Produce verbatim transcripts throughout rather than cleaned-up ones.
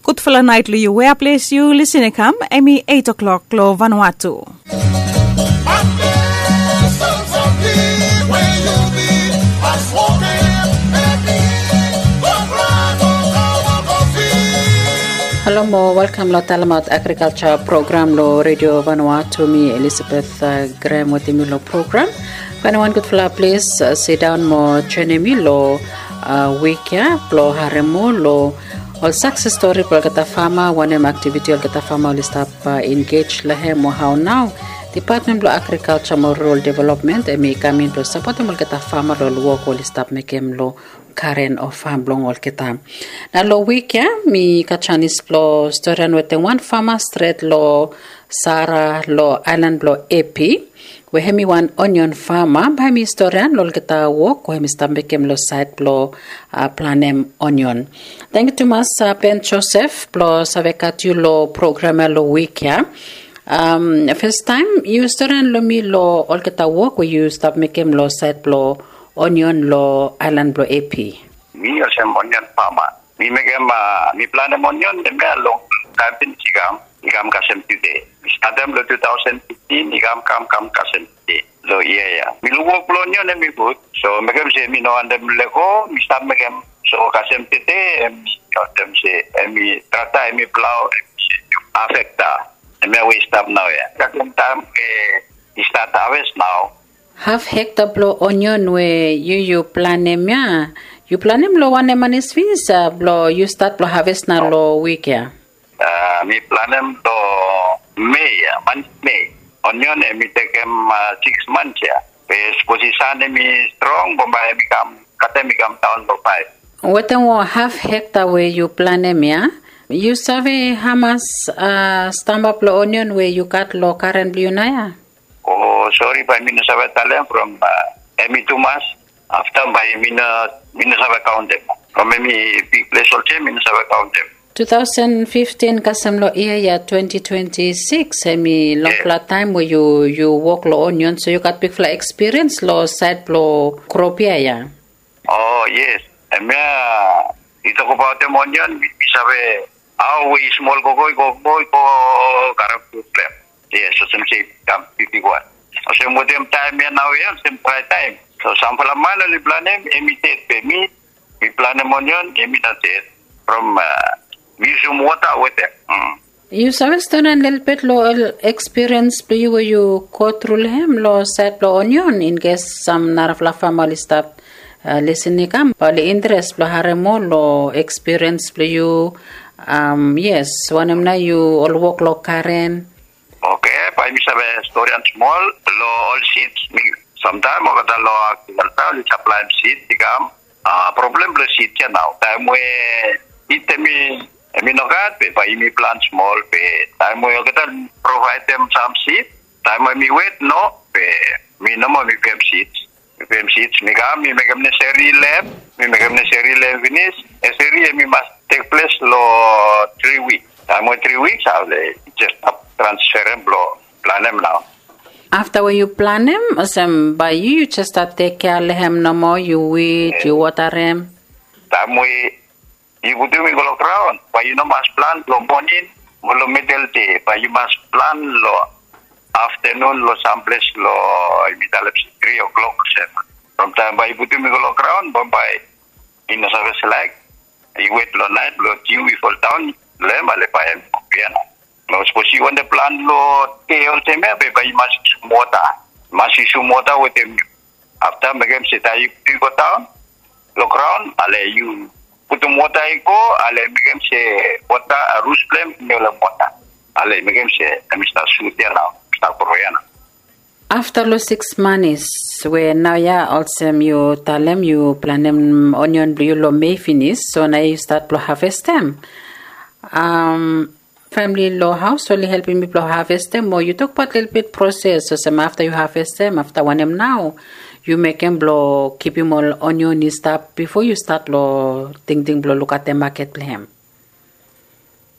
Gudfala naet long yu wea ples yu lisin i kam, em i eit o'klok long Vanuatu. Halo mo welkam long talemaot agrikalsa program long Redio Vanuatu. Mi Elisabeth Grem wetem yu long program. Fainim wan gudfala ples, sidaon mo joenem mi long wik ya blong harem moa long ol sakses stori blong olgeta fama, wanem aktiviti olgeta fama oli stap engej long hem, o hao nao Depatmen blong Agrikalsa mo Rural Developmen em i kam in blong sapotem olgeta fama long ol wok oli stap mekem long garen o fam blong olgeta. Nao long wik ya mi gat janis blong storian wetem wan fama stret long Sara long aelan blong Epi, we hem i wan onion fama, bae mi storian long olgeta wok we hem i stap mekem long saed blong planem onion. Tangkiu tumas Ben Josef blong save gat yu long program ya long wik ya. Fastaem yu storian long mi long olgeta wok we yu stap mekem long saed blong onion long aelan blong Epi. Mi olsem onion fama. Mi mekem, mi planem onion hemia long taem finis i kam, i kam kasem tude. Mi statem long tu taosen fiftin, i kam kam kam kasem tude long yia ya. Mi luk wok blong onion hem i gud, so mekem se mi no wantem lego, mi stap mekem. So kasem tude hem i wantem se hem i trakta hem i plao hem i se afekta. Hemia we i stap naoia kasem taem we i stat haves nao. Haf hekta blong onion we yu yu planem ya, yu planem long wanem manis finis blong yu stat blong haves nao long wik ya? Mi planem long Mei ya, manis Mei. Onion hem i tekem siks mans ya. Be sapos i san hem i strong, bambae hem i kam, katem i kam daon long faef. Wetem ol haf hekta we yu planem ya, yu save hamas stamba blong onion we yu gat long garen blong yu naoia? O sori, bae mi no save talem from hem i tumas. Afta bae mi no, mi no save kaontem. From hem i bigples olsem mi no save kaontem. Tu taosen fiftin kasem long yia ya twenti twenti sikis hem i longfala taem we yu, yu wok long onion, so yu gat bigfala ekspiriens long saed blong krop ya ya. O yes, hemia yu tokbaotem onion, mi save hao we i smol gogo i gogo i go karem problem. Yes, olsem se i kam bigwan. Olsem wetem taem ya naoia olsem drae taem. So samfala man oli planem hem i ded, be mi, mi planem onion hem i no ded. From mi yusum wota wetem. Yu save storian lelebet long ol ekspiriens blong yu we yu gotru long hem long saed blong onion, inkes sam narafala fama oli stap lisin i kam, bae oli interes blong harem moa long ekspiriens blong yu. Yes, wanem nao yu ol wok long garen? Oke, bae mi save storian smol long ol sids. Mi samtaem olgeta long agrikalsa oli saplaem sids i kam. Problem blong sids ya nao, taem we it hem i, hem i nogat, be bae yumi plan smol, be taem we olgeta provaedem sam sid, taem we hem i wet no, be mi nomo mi pem sids. Mi pem sids, mi kam, mi mekem nesesari long hem, mi mekem nesesari long hem finis. Nesesari hem i mas tekples long tri wik. Taem we tri wik, ale jes stap transferem blong planem nao. Afta we yu planem, olsem bae yu, yu jes stap tekkea long hem nomo, yu wid, yu wotarem. Taem we yu putum i go long graon, bae yu no mas plan long moning mo long midel dei, bae yu mas plan long aftanun long samples long, yumi talem se tri o'clock olsem. From taem bae yu putum i go long graon, bambae i no save slaek, i wet long naet blong diu i foldaon long hem, ale bae hem i kukbia nao. Mo sapos yu wantem plan long dei olsem ya, be bae yu mas yusum wota. Mas yusum wota wetem yu. Afta mekem se taem yu godaon long graon, ale yu putum wota i go, ale mekem se wota, rut blong hem i no long wota. Ale mekem se hem i stap sut ya nao, stap gro ya nao. Afta long siks manis we naoia olsem yu talem yu planem onion blong yu long Mei finis, so naoia yu stat blong havestem. Famili long haos oli helpem yu blong havestem, o yu tokbaot lelebet proses olsem afta yu havestem, afta wanem nao yu mekem blong kipim ol onion i stap bifo yu stat long tingting blong lukaotem maket blong hem?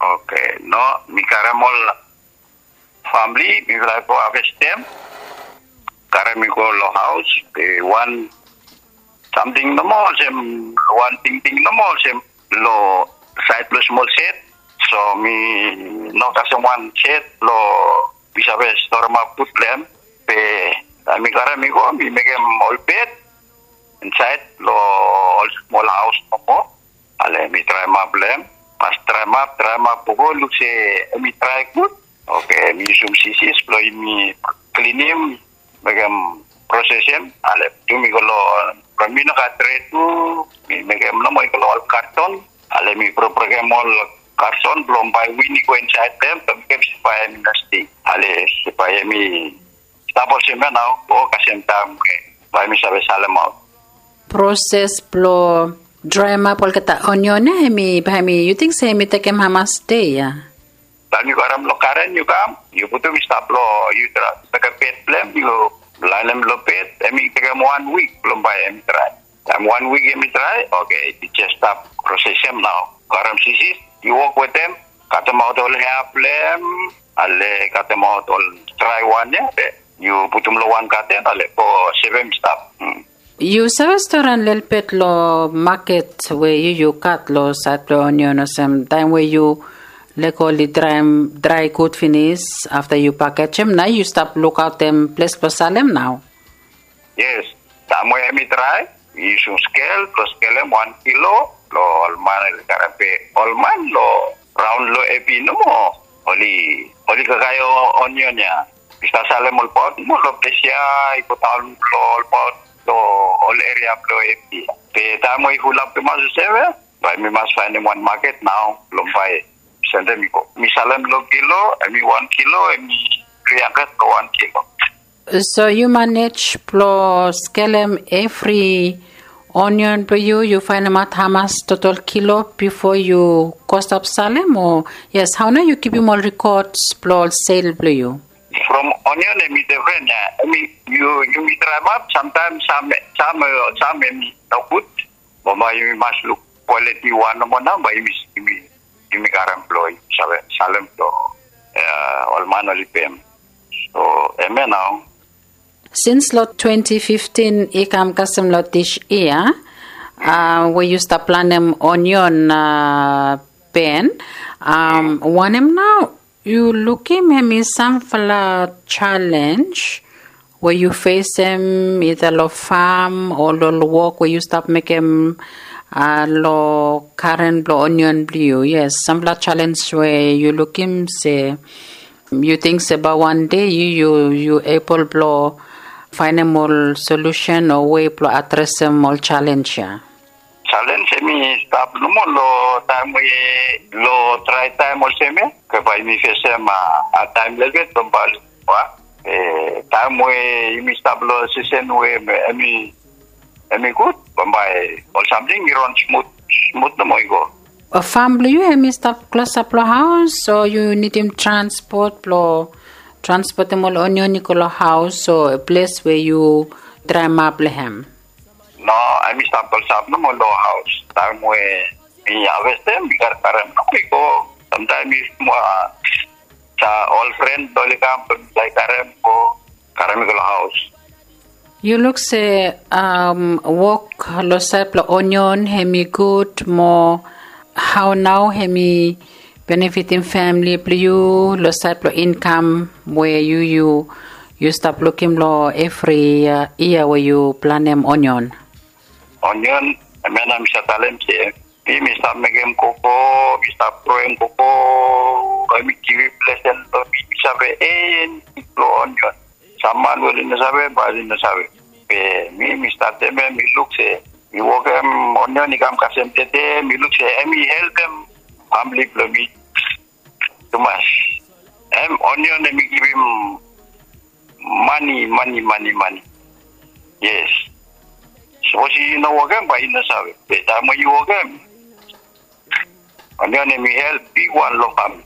Oke, no, mi karem ol famili, mifala i go havestem, karem i go long haos. Wan samting nomo olsem, wan tingting nomo olsem, long saed blong smol sed, So mi no kasem wan set lo mi save storemap gud blong hem. Be taem mi karem i go mi mekem ol bed insaed lo ol smol haos nomo. Ale mi draemap long hem. Mas draemap draemap go luk se hem i drae gud. Oke, mi yusum sisis blong yumi klinim, mekem prosesem. Ale tu mi go lo, from mi no gat tret tu, mi mekem nomo i go lo ol karton. Ale mi brokbrokem ol karton blong bae win i go insaed long hem blong mekem se bae hem i no stei. Ale se bae hem i stap olsem ya nao, o kasem taem we bae mi save salemaot. Proses blong draemap olgeta onion ya, hem i bae hem i, yu ting se hem i tekem hamas dei ya? Taem yu karem long garen yu kam, yu putum i stap long, yu mekem bed blong hem, yu laenem long bed, hem i tekem wan wik blong bae hem i drae. Taem wan wik hem i drae, oke, yu jes stap prosesem nao. Karem sisis, yu wok wetem, katemaot ol hea blong hem, ale katemaot ol drae wan ya, be yu putum long wan gaten, ale go sevem stap. Hmm. Yu save storian lelebet long maket we yu yu gat long saed blong onion olsem taem we yu lego oli draem drae gud finis afta yu pakejem, nao yu stap lukaotem ples blong salem nao? Yes, taem we hem i drae, yu yusum skel blong skelem wan kilo long ol man oli karem, be ol man long raon long Epi nomo oli, oli kakae onion ya. I stap salem olbaot nomo long ples ya, i godaon long olbaot long ol eria blong Epi. Be taem we i fulap tumas olsem ya, bae mi mas faenem wan maket nao blong bae sendem i go. Mi salem long kilo, hem i wan kilo, hem i tri handred long wan kilo. So yu manej blong skelem evri onion blong yu, yu faenemaot hamas totol kilo bifo yu go stap salem, o? Yes, hao nao yu kipim ol rikods blong ol sel blong yu? From onion hem i defren ya. Hem i, yu, yumi draemap, samtaem sam, sam, sam hem i nogud. Bambae yumi mas luk kwaliti wan nomo nao bae yumi, yumi, yumi karem blong yumi save salem blong, a, ol man oli pem. So hemia nao. Sins long twenti fiftin i kam kasem long dis yia, a, we yu stap planem onion, a, Ben, a, wanem nao yu lukim hem i samfala jalenj we yu fesem ida long fam o long wok we yu stap mekem, a, long garen blong onion blong yu? Yes, samfala jalenj we yu lukim se yu ting se bae wan dei yu, yu, yu ebol blong faenem ol solusen o wei blong adresem ol jalenj ya? Jalenj hem i stap nomo long taem we, long drae taem olsem ya, ke bae yumi fesem, a, a, taem lelebet bambae, wa, e, taem we yumi stap long sisen we hem i, hem i gud, bambae ol samting i ron smut, smut nomo i go. Fam blong yu hem i stap klosap long haos o yu nidim transpot blong transpotem ol onion i go long haos o ples we yu draemap long hem? No, hem i stap klosap nomo long haos. Taem we mi havestem, mi karkarem nomo i go. Samtaem mi mo, a, sa ol fren oli kam blong mi laek karem go, karem i go long haos. Yu luk se, am, wok long saed blong onion hem i gud mo hao nao hem i benefitim famili blong yu long saed blong inkam we yu, yu, yu stap lukim long evri, a, yia we yu planem onion? Onion, hemia nao mi save talem se mi, mi stap mekem koko, mi stap groem koko, bae mi givim lesen long mi, mi save en long onion. Sam man we oli no save, bae oli no save. Be mi, mi statem ya, mi luk se mi wokem onion i kam kasem tede, mi luk se hem i helpem famili blong mi tumas. Hem, onion hem i givim mane, mane, mane, mane. Yes. Sapos yu no wokem, bae yu no save. Be taem we yu wokem, onion hem i help bigwan long famili.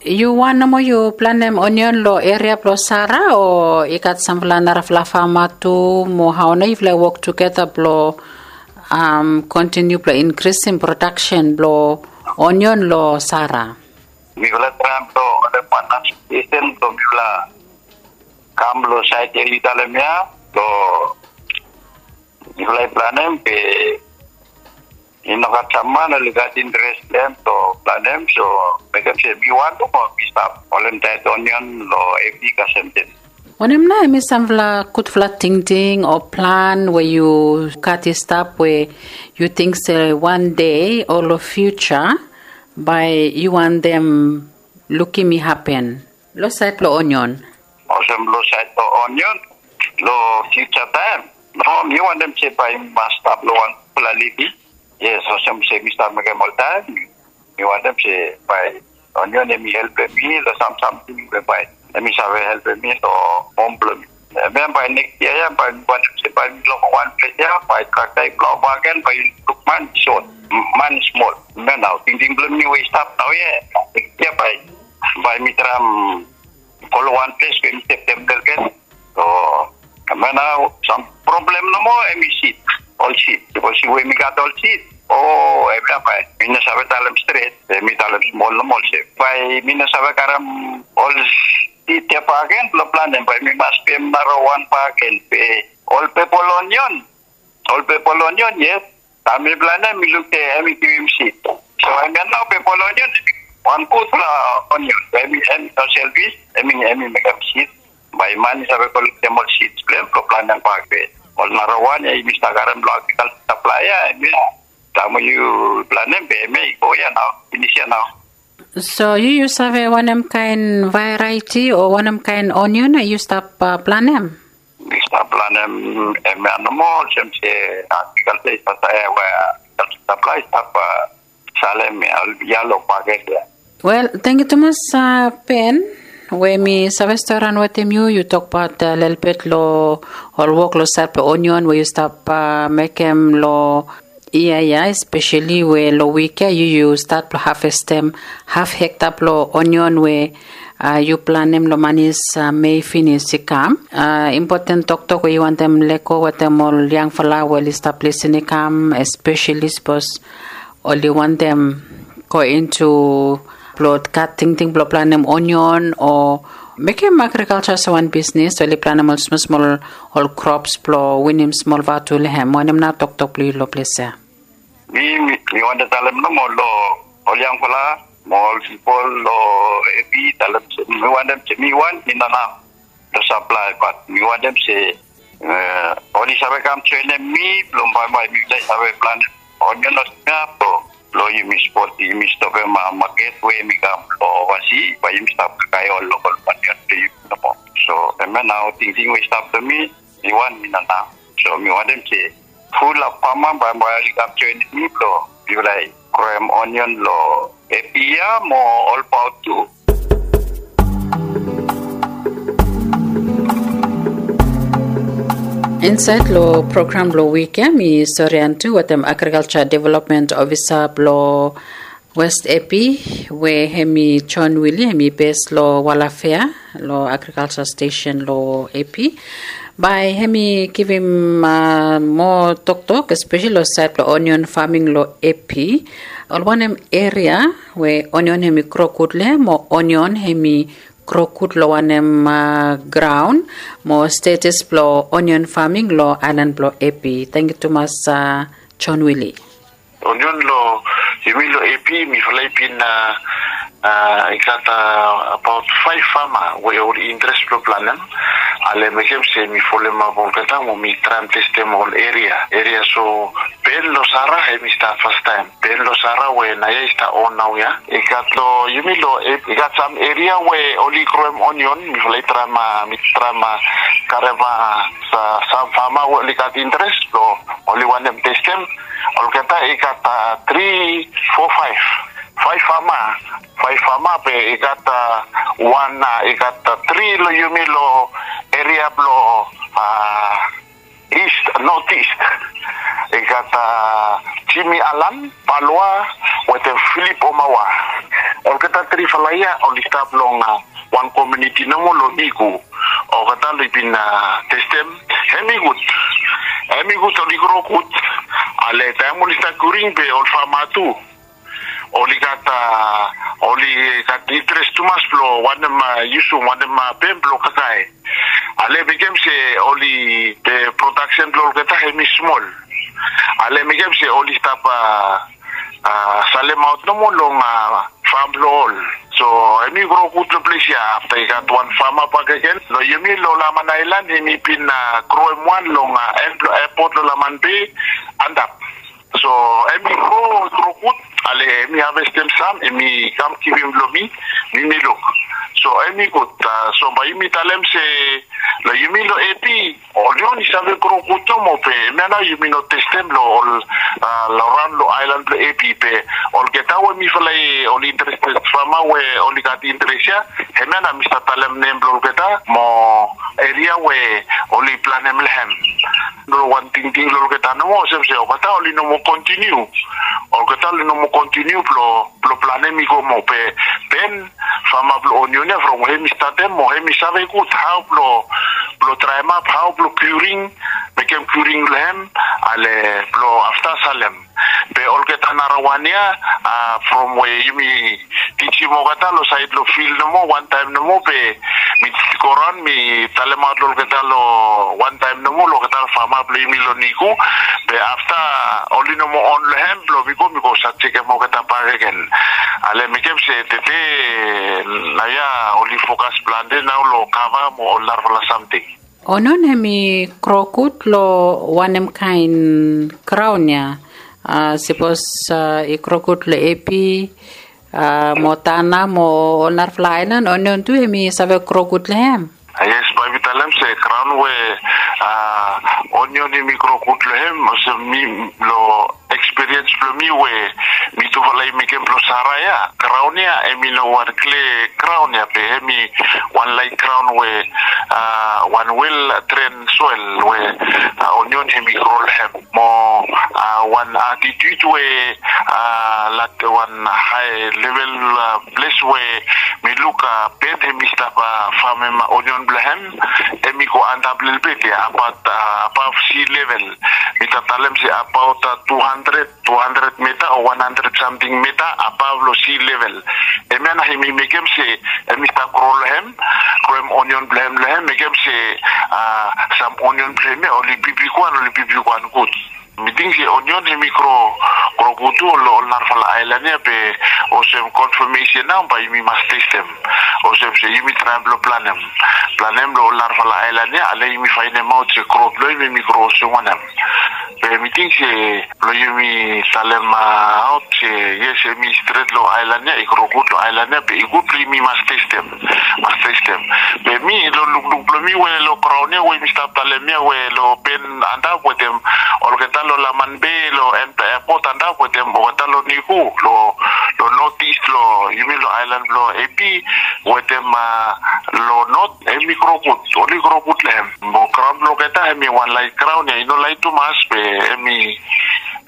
Yu wan nomo yu planem onion long eria blong Sara o i gat samfala narafala fama tu mo hao nao yufala i wok tugeta blong, am, kontiniu blong inkrisim prodaksen blong onion long Sara? Mifala traem blong olem wan asosiesen blong mifala kam long saed ya yu talem ya blong mifala i planem be i no gat sam man oli gat interes long hem, so Planem so mekem se mi wan tu mo mi stap holem taet onion lo epi kasem ten. Wanem nao hemi samfala gudfala tingting o plan we yu gat i stap we yu ting se wan dei o lo fiuja bae yu wantem lukim i hapen lo saed blo onion? Olsem lo saed blo onion, lo fiuja taem, no, mi wantem se bae mi mas stap lo wan gudfala living. Yes, olsem se mi stap mekem oltaem. Mi wantem se bae onion hemi helpem mi lo sam samting we bae hemi save helpem mi lo hom blo mi. Hemia bae neks yia ya bae mi wantem se bae mi long wan ples ya bae trakta i plau bakegen bae yu luk man i sot, man i smol. Hemia nao tingting blo mi we i stap naoia. Neks yia bae, bae mi traem go lo wan ples we mi stap tempel gen. So hemia nao sam problem nomo hemi sid, ol sid. Bikos we mi gat ol sid, o, hemia bae mi no save talem stret, be mi talem smol nomo olsem bae mi no save karem ol sid ya bakegen blo planem, bae mi mas pem narawan bakegen. Be ol pepol onion, ol pepol onion, yes. Taem mi planem mi luk se hemi givim sid. So hemia nao pepol onion, wan gudfala onion, hemi, hemi no selfis, hemi, hemi mekem sid. Bae man i save kolektem ol sid blo hem blo planem bak. Be ol narawan ya yumi stap karem lo agrikalja saplaea ya, hemia. Taem we yu planem be hemia i go ya nao, finis ya nao. So yu, yu save wanem kaen variety o wanem kaen onion yu stap, uh, planem? Mi stap planem hemia nomo, olsem se agrikalja i stap, we agrikalja saplaea i stap, uh, salem ya, ya lo paket ya. Wel, tangkiu tumas, uh, Ben, we mi save stori raon wetem yu, yu tokbaot, uh, lelebet lo ol wok lo saed blo onion we yu stap, uh, mekem lo yia ya, espeseli we lo wik ya yu, yu stat blo havestem haf hekta blo onion we, uh, yu planem lo manis, uh, Mei finis i kam. Uh, impoten toktok we yu wantem lego wetem ol yangfala we oli stap lisin i kam, espeseli sapos oli wantem go into blo gat tingting blo planem onion o mekem agrikalja olsem wan bisnis, oli planem ol smol smol ol krops blo winim smol vatu lo hem. Wanem nao toktok blo yu lo ples ya? Mi, mi, mi wantem talem nomo lo ol yangfala mo ol pipol lo epi, talem se mi wantem se mi wan mi no naf lo saplae, bat mi wantem se, uh, oli save kam joenem mi blo bambae mi save planem onion olsem ya blo, blo yumi spot, yumi stopem, uh, maket we hemi kam lo ovasi, bae yumi stap kakae ol lokol onion blo yumi nomo. So hemia nao tingting we i stap lo mi, mi wan mi no naf. So mi wantem se fulap fama bambae oli kam joenem mi blo yufala i groem onion lo epi ya mo ol paot tu. Insaed lo program blo wik ya mi stori antu wetem agrikalja development ofisa blo West Epi, we hemi John Willie, hemi bes lo Walafea lo agrikalja stesen lo Epi. Bae hemi givim, uh, moa toktok, espeseli lo saed blo onion faming lo Epi. Ol wanem eria we onion hemi gro gud lo hem, o onion hemi gro gud lo wanem, uh, graon, mo status blo onion faming lo aelan blo Epi? Tangkiu tumas, uh, John Willie. Onion lo yumi lo Epi, mifala i bin, uh, uh, i gat, uh, abaot faef fama we oli interes blo planem. Ale mekem se mi folemap olgeta mo mi traem testem ol eria. Eria so Ben Losara hemi stap fastaem. Ben Losara we naoia i stap on naoia. I gat lo yumi lo Epi, i gat sam eria we oli groem onion, mifala i traem, uh, mi traem, uh, karem, uh, sam fama we oli gat interes blo oli wantem testem. Olgeta i gat, uh, tri, fo, faef. Faef fama. Faef fama be i gat, uh, wan, uh, i gat, uh, tri lo yumi lo eria blo, uh, East, North East. I gat, uh, Jimmy Alan, Paloa, wetem Philip Omawa. Olgeta trifala ya oli stap long, uh, wan komuniti nomo lo Igu. Olgeta oli bin, uh, testem. Hemi gud. Hemi gud, oli gro gud. Ale taem oli stap kuring be ol fama tu oli gat, uh, oli gat interes tumas blo wantem, uh, yusum, wantem, uh, pem blo kakae. Ale mekem se oli, the production blo olgeta hemi smol. Ale mekem se oli stap, uh, a, salemaot nomo long, a, fam blong ol. So hemi gro gud long ples ya afta i gat wan fama bakegen long yumi long Laman Aelan, hemi bin, a, groem wan long, a, en blong epot long Laman Bei antap. So hemi gro, gro gud, ale hemi havestem sam, hemi kam givim long mi, mi mi luk. So hemi gud, a, so bae yumi talem se long yumi long Epi, onion i save gro gud nomo be hemia nao yumi no testem long ol, a, long raon long aelan blong Epi be olgeta we mifala i oli interested fama we oli gat interes ya, hemia nao mi stap talem nem blong olgeta mo eria we oli planem long hem. Long wan tingting long olgeta nomo olsem se olgeta oli no moa kontiniu. Olgeta oli no moa kontiniu blong blong planem i go moa be, ben fama blong onion ya from we hemi statem mo hemi save gud hao blong, blong traemap hao blong kiuring, mekem kiuring blong hem, ale blong afta salem. Be olgeta narawan ya, a, from we yumi tijim olgeta long saed long fil nomo wantaem nomo be mi go raon mi talemaot long olgeta long wantaem nomo long olgeta fama blong yumi long Niku. Be afta oli no moa on long hem blong mi go, mi go save jekem olgeta bakegen. Ale mekem se tede naoia oli fokas plante nao long kava mo ol narafala samting. Onion hemi gro gud long wanem kaen graon ya? A, sapos, a, i gro gud long Epi, a, mo Tanna mo ol narafala aelan, onion tu hemi save gro gud long hem? A, yes, bae mi talem se graon we, a, onion hemi gro gud long hem, olsem mi long ekspiriens blong mi we mi tufala i mekem blong Sara ya, graon ya hemi no wan kle graon ya be hemi wan laet graon we, a, wan wel tren soel we, a, onion hemi gro long hem. Mo, a, wan atitut we, a, lat wan hae level, a, ples we mi luk, a, ben hemi stap, a, famem onion blong hem, hemi go antap lelebet ya, abaot, a, above sea level. Mi stap talem se abaot, a, tu handred, tu handred meta o wan handred samting meta above long sea level. Hemia nao hemi mekem se hemi stap gro long hem, groem onion blong hem long hem, mekem se, a, sam onion blong hem ya oli bigbigwan, oli bigbigwan gud. Mi ting se onion hemi gro, gro gud tu long ol narafala aelan ya be olsem konfamesen nao bae yumi mas testem. Olsem se yumi traem blong planem. Planem long ol narafala aelan ya, ale yumi faenemaot se gro blong hem hemi gro olsem wanem. Be mi ting se blong yumi talemaot se yes, hemi stret long aelan ya, i gro gud long aelan ya, be i gud blong yumi mas testem. Mas testem. Be mi long lukluk blong mi we long graon ya we mi stap talem ya we long ben antap wetem olgeta long Laman Bei, long en blong epot antap wetem olgeta long Niku, long, long notis long yumi long aelan blong Epi wetem, a, long not, hemi gro gud, oli gro gud long hem. Mo graon blong olgeta hemi wan laet graon ya, i no laet tumas be hemi,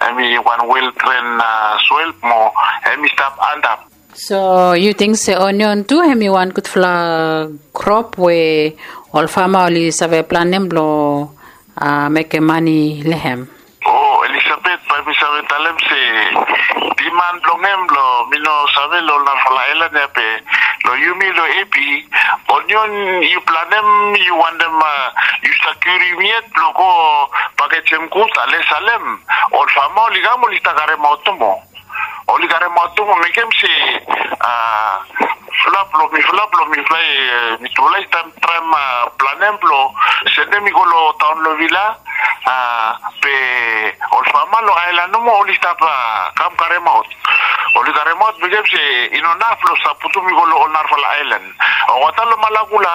hemi wan wel tren, a, soel mo hemi stap antap. So yu ting se onion tu hemi wan gudfala krop we ol fama oli save planem blong, a, mekem mane long hem? O, Elizabeth, bae mi save talem se diman blong hem long, mi no save long ol narafala aelan ya be long yumi long Epi, onion yu planem, yu wantem, a, yu stap kiurim yet blong go pakejem gud ale salem, ol fama oli kam oli stap karemaot nomo. Oli karemaot tu mo mekem se, a, flap long mifala, blong mifala, e, mitufala i stap traem, a, planem blong sendem i go long taon long Vila, a, be ol fama long aelan nomo oli stap, a, kam karemaot. Oli karemaot mekem se i no naf blong stap putum i go long ol narafala aelan. Olgeta long Malakula,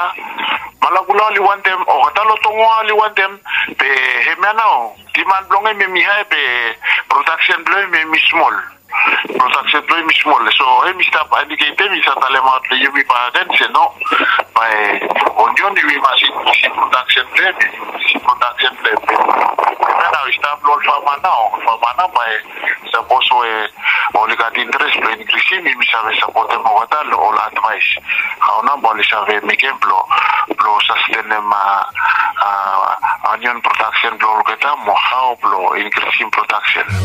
Malakula oli wantem, olgeta long Tongoa oli wantem, be hemia nao diman blong hem hemi hae be prodaksen blong hem hemi smol. Prodaksen blong hem i smol. So hemi stap indiketem, i stap talemaot long yumi bakegen se no, bae onion yumi mas inkrisim prodaksen blong hem, inkrisim prodaksen blong hem. Be hemia nao i stap long ol fama nao, ol fama nao bae sapos we oli gat interes blong inkrisim, yumi save sapotem olgeta long ol advaes hao nao bae oli save mekem blong, blong sastenem, a, a, onion prodaksen blong olgeta mo hao blong inkrisim prodaksen.